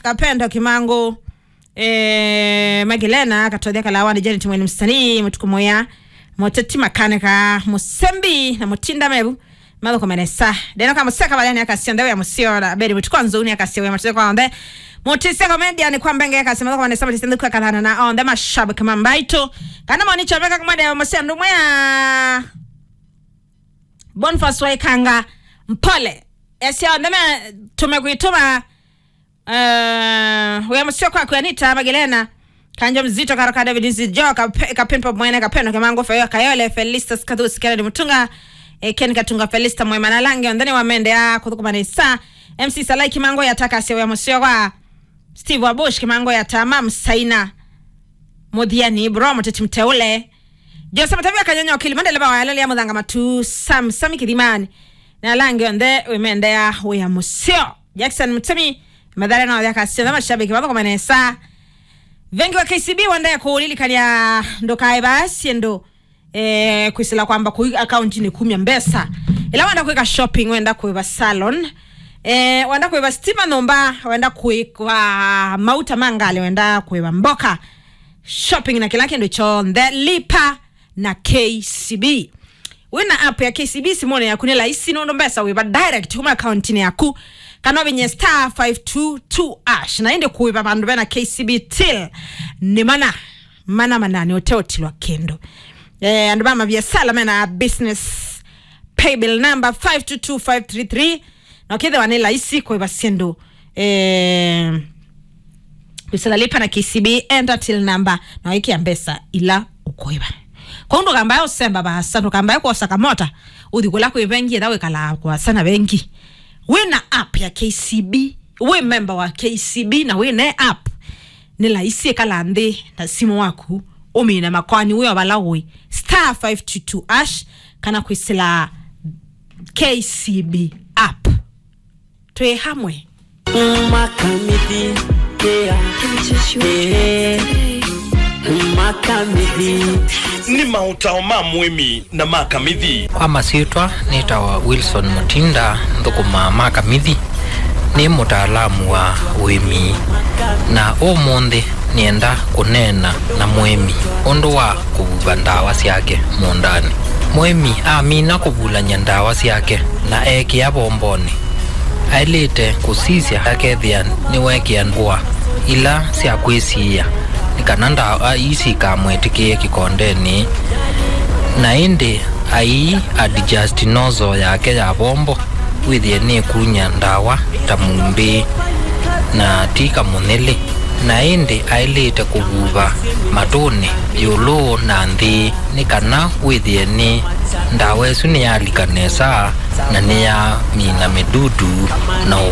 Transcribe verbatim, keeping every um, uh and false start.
Kapendo Kimangu, eh, Magilena Katothia Kalawani, Janet Mweni Msanii, Mutuku Moya, Moteti Makanika, Musembi na Mutinda Mevu. Mathoko menesa. Deno ka museka baleni akasya ndewe ya musio na beri mutuko nzuni akasya we mateko onde. Mutisia comedian kwa mbenge akasya mathoko menesa, mutisia nduka kathana na onde mashabiki mambaito. Kana moni chobeka kumade ya musio ndumwe ya Boniface Waikanga. Mpole. Esya onde me tumekwituma. Eh, wĩa mũseo kwaku Anita Magilena, Kanjo Mzito, Karoka David Nzijo, Kape-, Kapimpa Mwene, Kapendo Kimangu, Feyo Kayole, Felistas Kathusi, Kennedy Mutunga, eh, Ken Katunga, Felista Mwema na Lange, onthani wa mende ya kuthukuma nesa. M C Salai Kimangu yataka asya wĩa mũseo kwa Steve Wabush, Kimangu ya Tama, Msaina, Muthiani, Bro, Muteti Mteule, Jose Matavia Kanyonyo Kilimani, ndeleva wa yalali ya Muthanga Matu, Sam, Sami Kithimani, na Lange, onthe wĩmendea wĩa mũseo. Jackson Mutemi, Mathare na Othia Kasitha, mashabiki mathokoma nesa. Vengi wa K C B wende kulilikania ndukae basi ndo, eh, kwisila kwamba kui account ni kumya mbesa. Ila wenda kuika shopping, wenda kuiva salon, eh, wenda kuiva stima nyumba, wenda kuiva mauta mangali, wenda kuiva mboka. Shopping na kila kindu chonthe, lipa na K C B. Wĩna app ya K C B simũnĩ yaku nĩ laisi nũndũ mbesa wĩva direct kuma akauntinĩ yaku, kana ũvinye star five two two ash. Na ĩndĩ kũĩva vandũ vena K C B till nĩ mana, mana manani ũteũtilwa kĩndũ. Eh, andũ ma maviasala mena business paybill number five two two five three three. Na ũkĩthĩwa nĩ laisi kũĩva syĩndũ, eh, kwisila lipa na K C B, enter till number, na wĩkĩa mbesa ila ũkũĩva. Kwa hiyo ndũkambae ũsemba vaasa, ndũkambae kwosa kamota, ũthi kũla kwĩ vengi, etha wĩkalaa kũasa na vengi. Wĩna app ya K C B, wĩ member wa K C B na wĩne app, nĩ laisi ĩkala nthĩ na simũ waku, ũmina makoani wĩ o vala ũĩ. Star five two two ash, kana kwisila K C B app. Twĩ hamwe. Makamithi, yeah. Yeah. Makamithi. Nĩ maũtao ma mũĩmi na makamithi. Kwa masyĩtwa nĩtawa Wilson Mutinda, nthũkũmaa makamithi. Nĩ mũtaalamu wa ũĩmi, na ũmũnthĩ nĩenda kũneena na mũĩmi ũndũ wa kũvuva ndawa syake mũũndanĩ. Mũĩmi amina kũvulany'a ndawa syake na ekĩa vombonĩ, aĩlĩte kũsisya akethĩa nĩwekĩa ngũa ila sya kwĩsiĩĩa nĩ kana ndawa ii sikamwĩtĩkĩe kĩkondenĩ. Na ĩndĩ ai adjust nozzle yake ya vombo wĩthĩe nĩkunya ndawa ta mumbĩ na ti kamũnyĩlĩ, na ĩndĩ aĩlĩte kũvuva matũnĩ ĩũlũ na nthĩ nĩ kana wĩthĩe nĩ ndawa ĩsu nĩyalika nesa na nĩyamina mĩdudu na